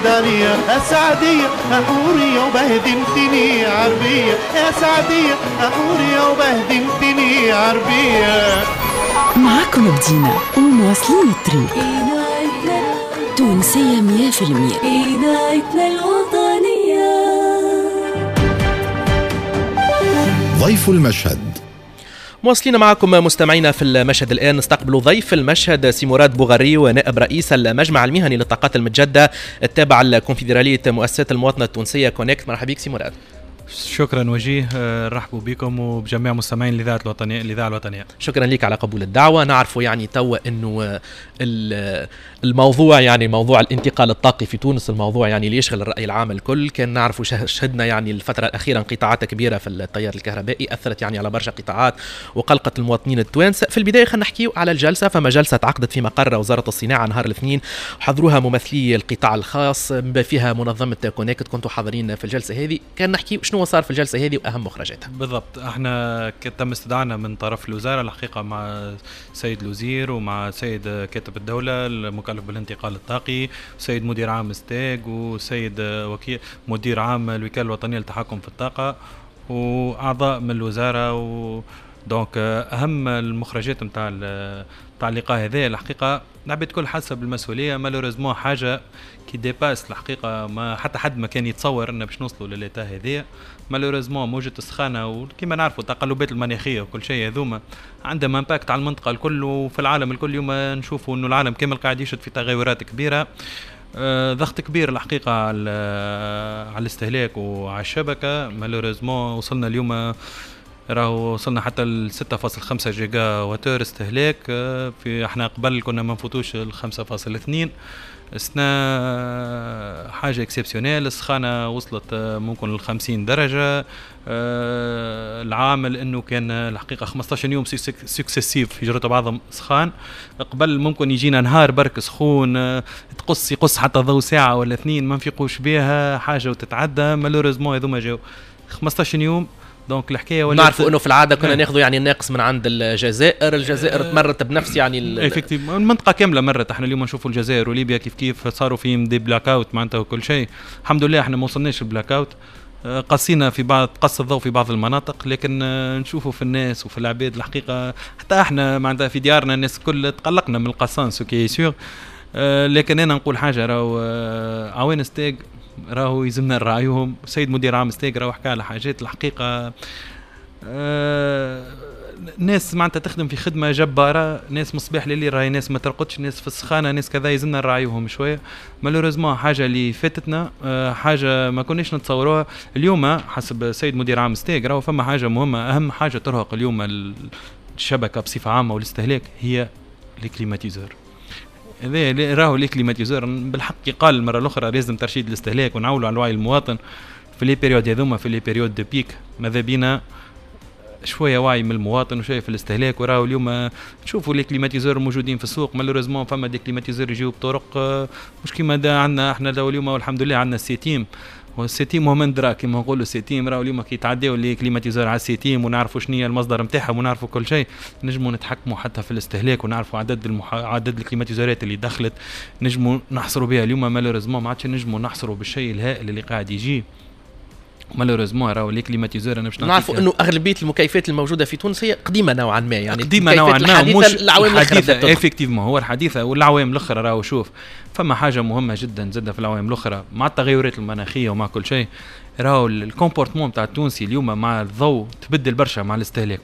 عليا يا سعدية حورية وبهدلتني عربية، يا سعدية حورية وبهدلتني عربية. معاكم بدينا ومواصلين الطريق. تونسية 100%. إذاعتنا الوطنية. ضيف المشهد. مواصلين معكم مستمعينا في المشهد الآن، نستقبل ضيف المشهد سي مراد بوغري، ونائب رئيس المجمع المهني للطاقات المتجددة التابع لكونفدرالية مؤسسات المواطنة التونسية كونكت. مرحبا بك سي مراد. شكرا وجيه، رحبوا بكم وبجميع مستمعين الاذاعة الوطنية. الاذاعة الوطنية. شكرا لك على قبول الدعوة. نعرف يعني توا انه الموضوع يعني موضوع الانتقال الطاقي في تونس، الموضوع يعني اللي يشغل الراي العام الكل. كان نعرف شهدنا يعني الفترة الاخيرة انقطاعات كبيرة في التيار الكهربائي اثرت يعني على برشا قطاعات وقلقت المواطنين التوانسة. في البداية خلينا نحكيو على الجلسة. فما جلسه تعقدت في مقر وزارة الصناعة نهار الاثنين، حضروها ممثلي القطاع الخاص فيها منظمة كونكت، كنتوا حاضرين في الجلسة هذه. كان نحكي شنو صار في الجلسة هذه واهم مخرجاتها. بالضبط، احنا تم استدعانا من طرف الوزارة الحقيقة مع سيد الوزير ومع سيد كاتب الدولة المكلف بالانتقال الطاقي، وسيد مدير عام ستاغ، وسيد وكيل مدير عام الوكالة الوطنية للتحكم في الطاقة، واعضاء من الوزارة. و donc اهم المخرجات نتاع اللقاء هذا الحقيقة العباد الكل حاسه بالمسؤولية. malheureusement حاجة qui dépasse الحقيقة، ما حتى حد ما كان يتصور ان باش نوصلوا ل l'état هذايا. malheureusement موجة السخانه وكما نعرفوا التقلبات المناخية وكل شيء هذوما عندهم impact على المنطقة الكل وفي العالم الكل. اليوم نشوفوا انه العالم كامل قاعد يشهد في تغيرات كبيرة، ضغط كبير الحقيقة على الاستهلاك وعلى الشبكة. malheureusement وصلنا اليوم راهو وصلنا حتى ل 6.5 gigawattheure استهلاك، في احنا قبل كنا ما نفوتوش ال 5.2. السنة حاجة exceptionnelle، السخانة وصلت ممكن ل 50 درجة. العامل انه كان الحقيقة 15 يوم successifs في جرة بعضهم سخان. قبل ممكن يجينا نهار برك سخون، تقص يقص حتى ضوء ساعة ولا اثنين ما نفيقوش بها حاجة وتتعدى. malheureusement هذوما جاو 15 يوم. donc الحكاية ولات نعرفوا انه في العادة كنا ناخذوا يعني الناقص من عند الجزائر، الجزائر تمرت بنفس يعني effectivement المنطقة كاملة مرت. احنا اليوم نشوفوا الجزائر وليبيا كيف كيف صاروا فيهم des black-outs معناتها وكل شيء. الحمد لله احنا ما وصلناش ال black-out، قصينا في بعض قص الضوء في بعض المناطق، لكن نشوفوا في الناس وفي العباد الحقيقة حتى احنا معناتها في ديارنا الناس الكل تقلقنا من القصان ce qui est sûr. لكن انا نقول حاجة، راهو عوان ستاغ راهو يلزمنا نراعيهم. سيد مدير عام ستاغ راهو حكى على حاجات الحقيقة، ناس معناتها تخدم في خدمة جبارة، ناس مصباح لليل راهي ناس ما ترقدش، ناس في السخانه، ناس كذا، يلزمنا نراعيوهم شوية. malheureusement حاجة اللي فاتتنا، حاجة ما كناش نتصوروها. اليوم حسب سيد مدير عام ستاغ راهو فما حاجة مهمة، اهم حاجة ترهق اليوم الشبكة بصفة عامة والاستهلاك هي les climatiseurs. هذا راهو les climatiseurs بالحق قال المرة الاخرى لازم ترشيد الاستهلاك ونعولوا على وعي المواطن في les périodes هذوما، في les périodes de pic ماذا بينا شوية وعي من المواطن وشوية في الاستهلاك. وراهو اليوم نشوفوا les climatiseurs موجودين في السوق، malheureusement فما des climatiseurs يجيو بطرق مش كيما عندنا احنا اليوم، والحمد لله عندنا السيتيم، والسيتيم هو من درا كيما نقولوا السيتيم. راهو اليوم كي يتعداو les climatiseurs على السيتيم ونعرفوا شنو هي المصدر نتاعهم ونعرفوا كل شيء، نجموا نتحكموا حتى في الاستهلاك ونعرفوا عدد الكليماتيزورات اللي دخلت، نجموا نحصروا بها. اليوم malheureusement ما عادش نجموا نحصروا بالشيء الهائل اللي قاعد يجي. malheureusement راهو les climatiseurs انا باش نعرفوا انه اغلبية المكيفات الموجودة في تونس هي قديمة نوعا ما، يعني قديمة نوعا ما، مش العوام الاخرى. effectivement هو الحديثة والعوام الاخرى. راهو شوف فما حاجة مهمة جدا زاده في العوام الاخرى مع التغيرات المناخية ومع كل شيء، راهو ال comportement تاع التونسي اليوم مع الضوء تبدل برشا مع الاستهلاك.